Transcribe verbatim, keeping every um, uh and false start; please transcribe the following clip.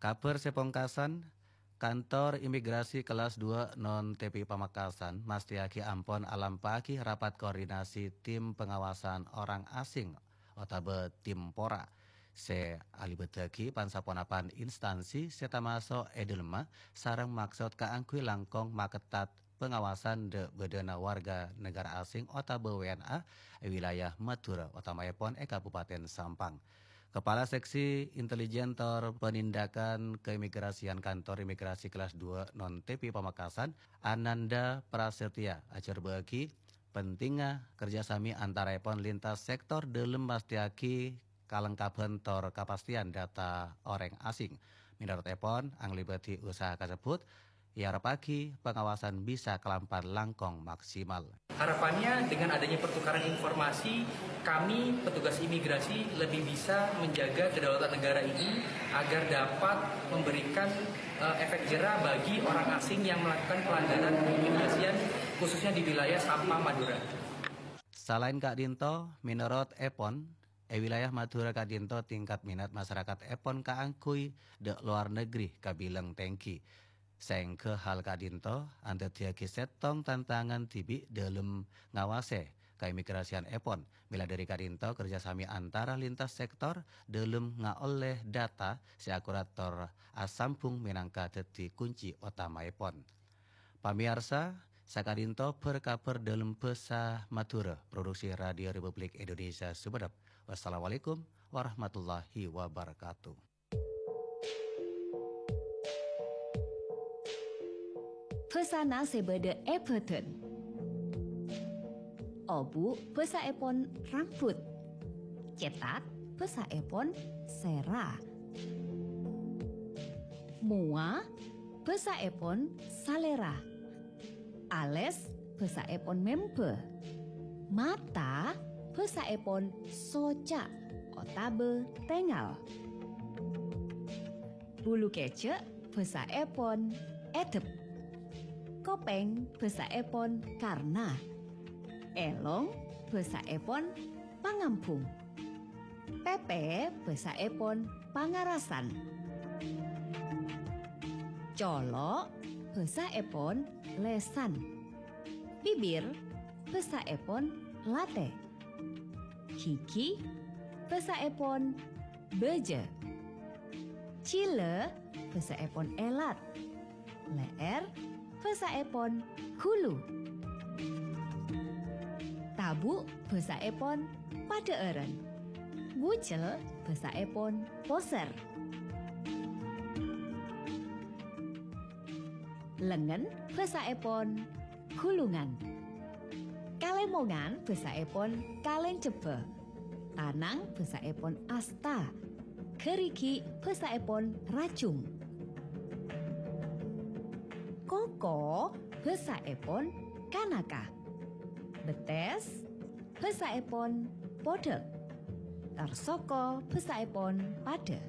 Kabhâr sè pongkasan, Kantor Imigrasi Kelas dua Non T P I Pamekasan mastèyaghi ampon alampa'aghi rapat koordinasi tim pengawasan orang asing otabâ tim pora sè alibâttaghi pan-saponapan instansi sè tamaso' è dhâlemma sareng maksod kaangghuy langkong makettat pengawasan dhâ'-bâdhâna warga negara asing otabâ W N A è wilayah Madhurâ, otamaèpon è Kabupaten Sampang. Kepala Seksi Intelijen tor Penindakan Keimigrasian Kantor Imigrasi Kelas dua Non T P I Pamekasan, Ananda Prasetya, ajhârbâ'âghi pentingnga kerjasami antaraèpon lintas sektor dhâlem mastèyaghi kalengkabhân tor kapastèyan data orèng asing. Mènorot èpon, anglèbâdhi usaha kasebbhut, èarebbhâghi pangawasan bisa kalampan langkong maksimal. Harapannya, dengan adanya pertukaran informasi, kami, petugas imigrasi, lebih bisa menjaga kedaulatan negara ini agar dapat memberikan, eh, efek jera bagi orang asing yang melakukan pelanggaran keimigrasian, khususnya di wilayah Sampang, Madura. Salaèn ka'dinto, mènorot èpon, è wilayah Madhurâ ka'dinto tingkat minat masarakatèpon kaangghuy dhâ' lowar negri kabilang tèngghi. Saèngghâ hal ka'dinto andaddhiyâghi sèttong tantangan dhibi' dhâlem ngawasè kaimigrasianèpon. Mèla dhâri ka'dinto, kerjasami antara lintas sektor dhâlem ngaollè data sè akurat tor asambhung mènangka dhâddhi kunci otamaèpon. Pamèyarsa, saka'dinto bhâr-kabhâr dhâlem bhâsa Madhurâ, produksi Radio Republik Indonesia Sumenep. Wassalamualaikum warahmatullahi wabarakatuh. Bhâsana sè bâdâ è bâdân. Obu' bhâsaèpon rambut. Cètak bhâsaèpon sèra. Mowa bhâsaèpon salèra. Alès bhâsaèpon mèmbâ. Mata bhâsaèpon soca' otabâ tèngal. Bulu kèjhâ' bhâsaèpon èdep. Kopèng bhâsaèpon karna. Èlong bhâsaèpon pangambhung. Pèpè bhâsaèpon pangarasan. Colo' bhâsaèpon lèsan. Bibir bhâsaèpon latè. Ghighi bhâsaèpon bâjâ. Jhilâ bhâsaèpon èlat. Lè'èr bhâsaèpon ghulu. Tabu' bhâsaèpon padhâ'ârân. Bujel bhâsaèpon posèr. Lengngen bhâsaèpon ghulungan. Kalèmongan bhâsaèpon kalèngjhebbhâ. Tanang bhâsaèpon asta. Ghârighi' bhâsaèpon rajung. Koko bhâsaèpon kanaka. Bettès bhâsaèpon podhâk. Tor soko bhâsaèpon padhâ.